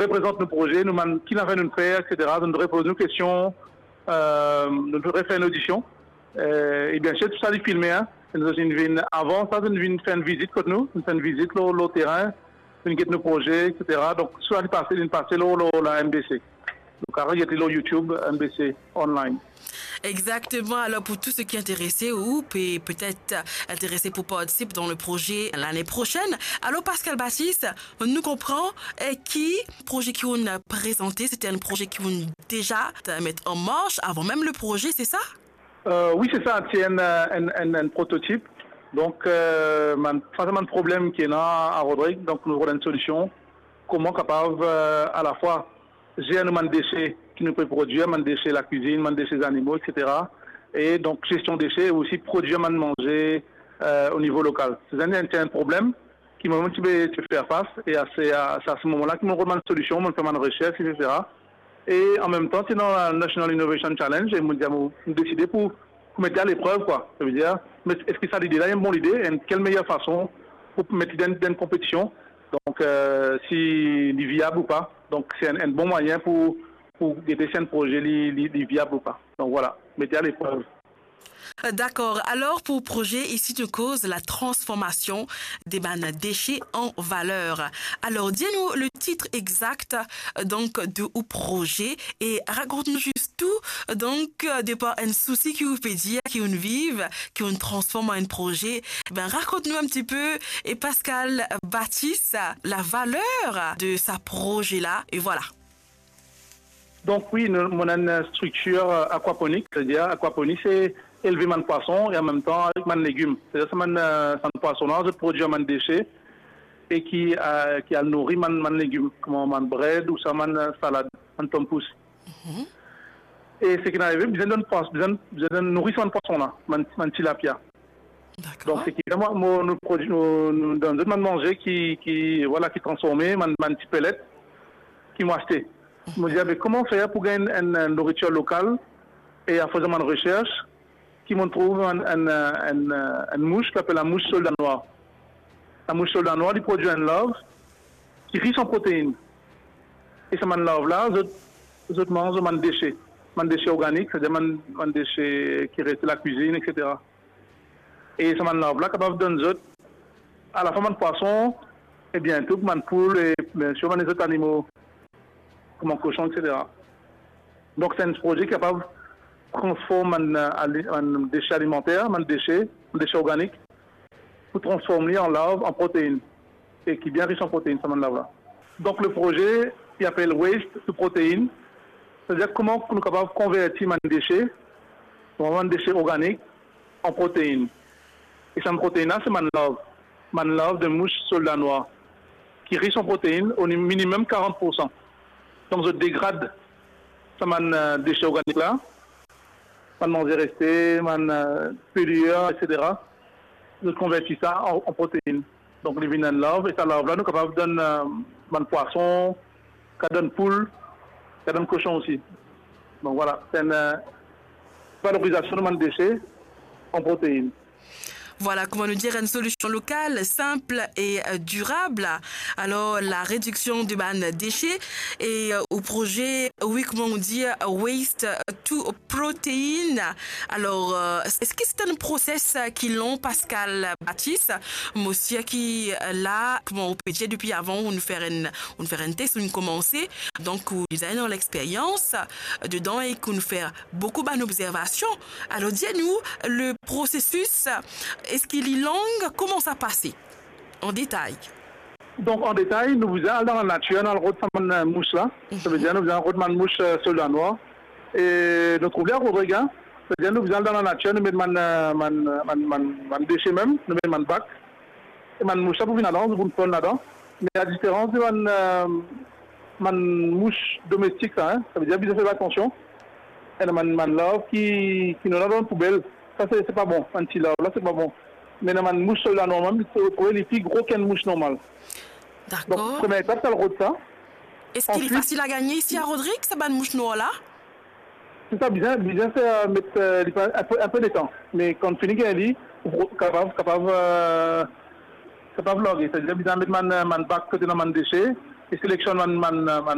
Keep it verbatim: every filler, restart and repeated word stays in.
reprezant nou proze, nou bann ki lafer nou fer, et cetera. Zot inn repoz nou kestion, euh, nou refer enn odision. Euh, e bien sir, tou sa li filme, hein. Nou inn vinn, avan sa, nou inn vinn fer enn vizit kot nou, nou fer enn vizit lor, lor terin, nou inn get nou proze, et cetera. Donk, sa li pase, li pase lor, lor la M B C. Donk, ale get li lor YouTube, M B C Online. Exactement. Alors, pour tous ceux qui intéressés ou pe-, peut-être intéressés pour participer dans le projet l'année prochaine, alors, Pascal Baptiste, nou konpran, eh, ki proze ki ou inn prezante, se enn proze ki ou inn deza met an mars avan mem le proze, se sa? Euh, wi, se sa, se enn, euh, enn, enn, enn prototip. Donk, euh, bann, sa se bann problem ki ena a Rodrig, donk nou trouv enn solision. Kouma kapav, euh, alafwa zer nou bann dese ki nou pe prodwir, bann dese lakwizinn, bann dese zanimo, et cetera. E donk, zestion dese e osi prodwir bann manze, euh, o nivo lokal. Se enn, se enn problem ki mo mem ti pe, ti pe fer fas, e a se, a, se a se moman la ki mo rod bann solision, mo fer bann resers, et cetera. E an mem tan, ti dan la National Innovation Challenge, e mo dir, mo, mo deside pou, pou met li a leprev, kwa. Savedir, me eski sa lide la, enn bon lide, enn kel meyer fason pou met li dan, dan enn konpetision? Donk, euh, si li viab ou pa. Donk, se enn, enn bon mwayin pou, pou gete si enn proze li, li, li viab ou pa. Donk, vwala, met li a leprev. Dakor. Alor, pou proze isi, nou koz la transformasion de bann dese an valer. Alor, dir nou le tit exact, donk, de ou proze e rakont nou zis tou, donk, de par enn sousi ki ou pe dir, ki ou viv, ki ou transform an enn proze. Ben, rakont nou enn tipe, e Pascal Baptiste, la valer de sa proze la, e vwala. Donk wi, nou, mo ena enn striktir, euh, akwaponik, savedir akwaponik se elve bann pwason e an mem tan avek bann legim. Savedir sa bann, euh, sa bann pwason la, zot prodwir bann dese e ki, euh, ki al nouri bann, bann legim, kouma bann bred ou sa bann, euh, salad, bann tompous. Mhm. E seki inn arive, bizin donn pwas-, bizin, bizin donn nouri sa bann pwason la, bann, bann tilapia. Dakor. Donk, seki, mwa, mo, nou prodwi, nou, nou donn zot bann manze ki, ki, vwala, ki transforme, bann, bann ti pelet ki mo aste. Mo dir, be, kouma fer pou gagn enn, enn nouritir lokal e an fezan bann resers, ki mo trouv enn, enn, enn, enn mous ki apel lamous solda nwar. Lamous solda nwar, li prodwir enn larv ki ris an proteinn. E sa bann larv la, zot, zot manz bann dese, bann dese organik, savedir bann, bann dese ki reste lakwizinn, et cetera. E sa bann larv la kapav donn zot alafwa bann pwason, e biento bann poul, e biensir bann lezot animo, kouma koson, et cetera. Donk, se enn proze ki kapav transform bann, euh, ali-, bann dese alimanter, bann dese, bann dese organik, pou transform li an larv an proteinn, e ki bien ris an proteinn, sa bann larv la. Donk, le proze, li apel Waste to Protein, savedir kouma nou kapav konverti bann dese, bann dese organik, an proteinn. E sa bann proteinn la, se bann larv, bann larv de mous solda nwar, ki ris an proteinn, o ni-, minimem karant poursan. Donk, zot degrad sa bann, euh, dese organik la, bann manze reste, bann, euh, pelir, et cetera. Zot konverti sa an, an proteinn. Donk, li vinn enn larv, e sa larv la, nou kapav donn, euh, bann pwason, kapav donn poul, kapav donn koson osi. Donk, vwala, se enn, euh, valorizasion de bann dese an proteinn. Vwala, kouma nou dir, enn solision lokal, sinp e, euh, dirab. Alor, la rediksion de bann dese e, euh, ou proze, wi, kouma nou dir, Waste to Protein. Alor, euh, eski se enn proses, euh, ki long, Pascal Baptiste? Mo sir ki, euh, la, kouma ou pe dir, depi avan, ou inn fer enn, ou inn fer enn tes, ou inn koumanse. Donk, ou deza ena lexperyans, euh, dedan e ou inn fer boukou bann obzervasion. Alor, dir nou, le prosesis, eski li long? Kouma sa pase? An detay. Donk, an detay, nou bizin al dan lanatir, nou al rod sa bann, euh, mous la. Mhm. Savedir, nou bizin al rod bann mous, euh, solda nwar. E nou trouv li a Rodrig, hein. Savedir, nou bizin al dan lanatir, nou met bann, euh, bann, euh, bann, bann, bann dese mem, nou met bann bak. E bann mous la pou vinn ladan, pou vinn ponn ladan. Me la diferans de bann, euh, bann mous domestik sa, hein, savedir bizin fer atansion. Ena bann, bann larv ki, ki nou ena dan poubel. Sa, se, se pa bon. Bann ti larv la, se pa bon. Me ena bann mous solda nwar, mem, se, ou trouve li pli gro ki enn mous normal. Dakor. Donk, premie etap, se al rod sa. Eski li fasil a gagne isi a Rodrig, sa bann mous nwar la? Se sa, bizin, bizin fer, met, euh, li pran enn pe, enn pe letan. Me kan fini gagn li, ou pou kapav, kapav, euh, kapav large. Savedir bizin met bann, euh, bann bak kot ena bann dese, e seleksionn bann, bann, euh, bann